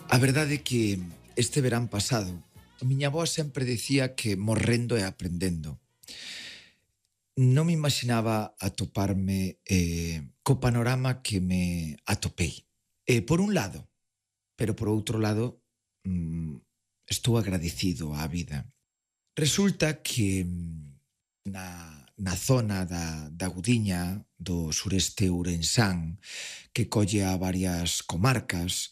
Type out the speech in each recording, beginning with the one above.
A verdade é que este verán pasado a miña avó sempre dicía que morrendo e aprendendo. Non me imaginaba atoparme co panorama que me atopei. Por un lado, pero por outro lado, estou agradecido á vida. Resulta que na zona da Gudiña, do sureste ourensán, que colle a varias comarcas,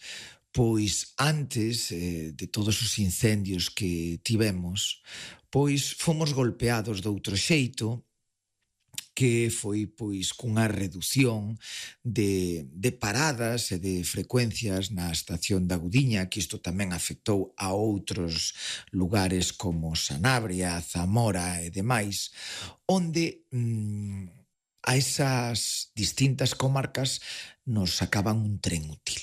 pois antes de todos os incendios que tivemos, pois fomos golpeados doutro xeito, que foi pois cunha reducción de paradas e de frecuencias na estación da Gudiña, que isto tamén afectou a outros lugares como Sanabria, Zamora e demais, onde a esas distintas comarcas nos sacaban un tren útil.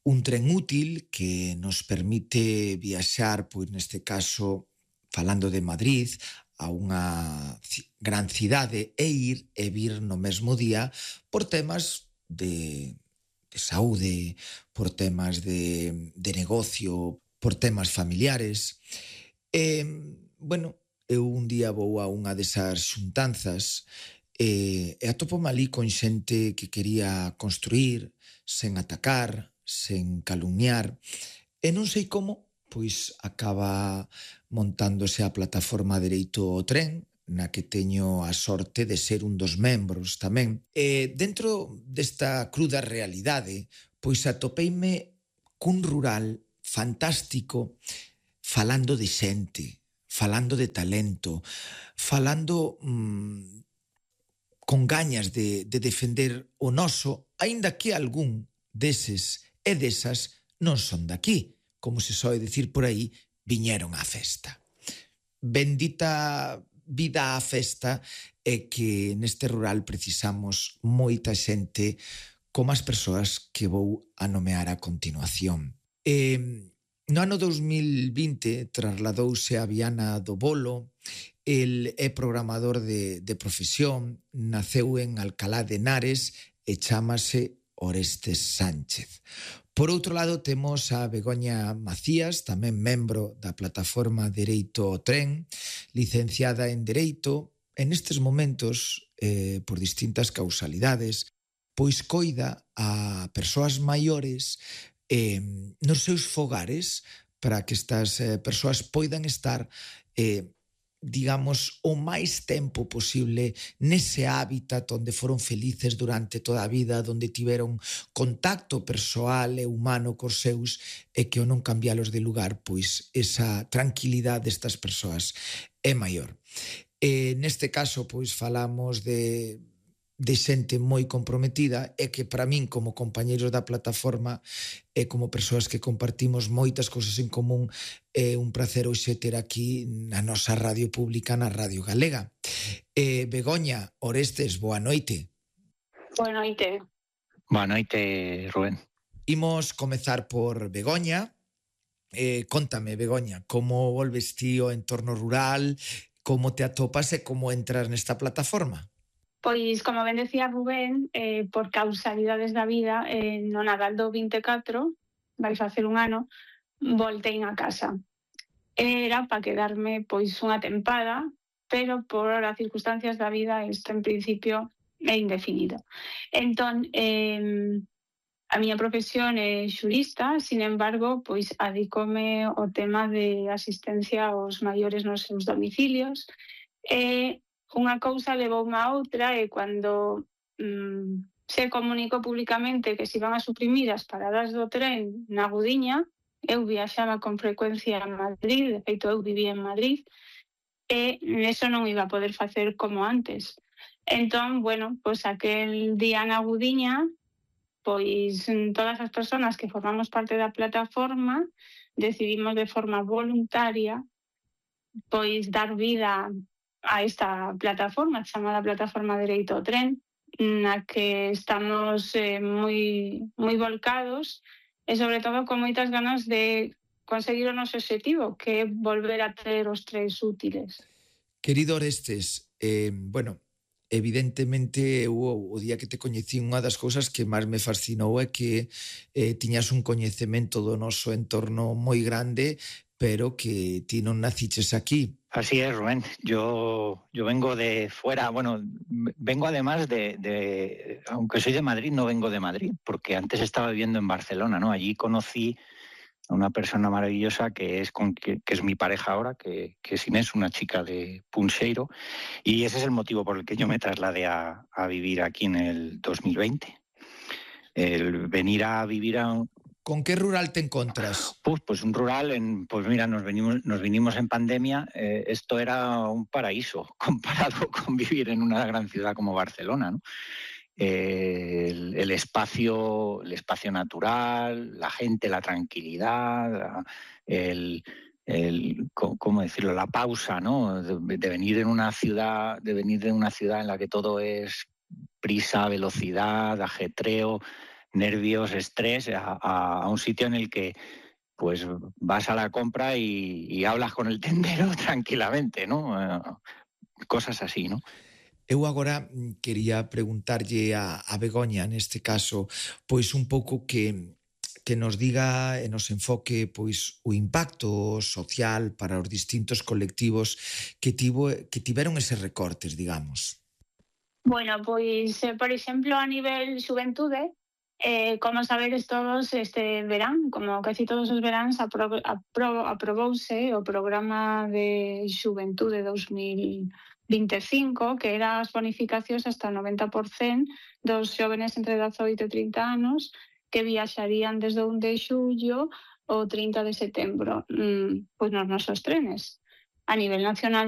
Un tren útil que nos permite viaxar, pois neste caso, falando de Madrid, a unha gran cidade e ir e vir no mesmo día por temas de saúde, por temas de negocio, por temas familiares. Eu un día vou a unha desas xuntanzas e atopome ali con xente que quería construir sen atacar, sen calumniar, e non sei como, pois acaba montándose a plataforma Dereito ao Tren, na que teño a sorte de ser un dos membros tamén. E dentro desta cruda realidade, pois atopeime cun rural fantástico, falando de xente, falando de talento, falando con gañas de defender o noso, aínda que algún deses e desas non son daqui. Como se soe dicir por aí, viñeron á festa. Bendita vida á festa é que neste rural precisamos moita xente como as persoas que vou a nomear a continuación. No ano 2020 trasladouse a Viana do Bolo. El é programador de profesión, naceu en Alcalá de Henares e chámase Orestes Sánchez. Por outro lado, temos a Begoña Macías, tamén membro da plataforma Dereito ao Tren, licenciada en Dereito, e nestes momentos, por distintas causalidades, pois coida a persoas maiores nos seus fogares para que estas persoas poidan estar digamos, o máis tempo posible nese hábitat onde foron felices durante toda a vida, onde tiveron contacto persoal e humano cos seus e que ao non cambialos de lugar, pois esa tranquilidade destas persoas é maior. Neste caso, pois falamos de xente moi comprometida e que para min como compañeiros da plataforma e como persoas que compartimos moitas cousas en común é un placer hoxe ter aquí na nosa radio pública, na Radio Galega. Begoña, Orestes, boa noite. Boa noite. Boa noite, Rubén. Imos comezar por Begoña. Contame, Begoña, como volves ti ao entorno rural, como te atopas e como entras nesta plataforma? Pois, como ben decía Rubén, por causalidades da vida, no Nadal do 24, vai facer un ano, voltei a casa. Era para quedarme pois unha tempada, pero por as circunstancias da vida isto en principio é indefinido. Entón, a miña profesión é xurista, sin embargo, pois adicome ao tema de asistencia aos maiores nos seus domicilios e unha cousa levoume a outra e cando se comunicou públicamente que se iban a suprimir as paradas do tren na Gudiña, eu viaxaba con frecuencia a Madrid, de feito eu vivía en Madrid, e eso non iba a poder facer como antes. Entón, pois aquel día na Gudiña, pois todas as persoas que formamos parte da plataforma decidimos de forma voluntaria pois dar vida a esta plataforma chamada Plataforma Dereito ao Tren, na que estamos moi volcados e sobre todo con moitas ganas de conseguir o noso objetivo, que é volver a ter os trens útiles. Querido Orestes, evidentemente, o día que te coñecí, unha das cousas que máis me fascinou é que tiñas un coñecemento do noso entorno moi grande, pero que ti non naciches aquí. Así es, Rubén. Yo vengo de fuera, bueno, vengo además aunque soy de Madrid, no vengo de Madrid, porque antes estaba viviendo en Barcelona, ¿no? Allí conocí a una persona maravillosa que es mi pareja ahora, que es Inés, una chica de Punxeiro, y ese es el motivo por el que yo me trasladé a vivir aquí en el 2020. El venir a vivir a... ¿Con qué rural te encontras? Pues un rural, pues mira, nos vinimos en pandemia. Esto era un paraíso comparado con vivir en una gran ciudad como Barcelona, ¿no? El espacio natural, la gente, la tranquilidad, ¿cómo decirlo? La pausa, ¿no? De venir en una ciudad, en la que todo es prisa, velocidad, ajetreo, nervios, estrés, a un sitio en el que pues vas a la compra y hablas con el tendero tranquilamente, ¿no? Cosas así, ¿no? Eu agora quería preguntarlle a Begoña, neste caso, pois un pouco que nos diga e nos enfoque pois o impacto social para os distintos colectivos que tiveron eses recortes, digamos. Bueno, pois, por exemplo, a nivel xuventude, como sabedes todos, este verán, como casi todos os veráns, aprobouse o programa de Xuventude 2025, que era as bonificacións hasta o 90% dos xóvenes entre 18 e 30 anos que viaxarían desde o 1 de xullo ao 30 de setembro, pois nos nosos trenes. A nivel nacional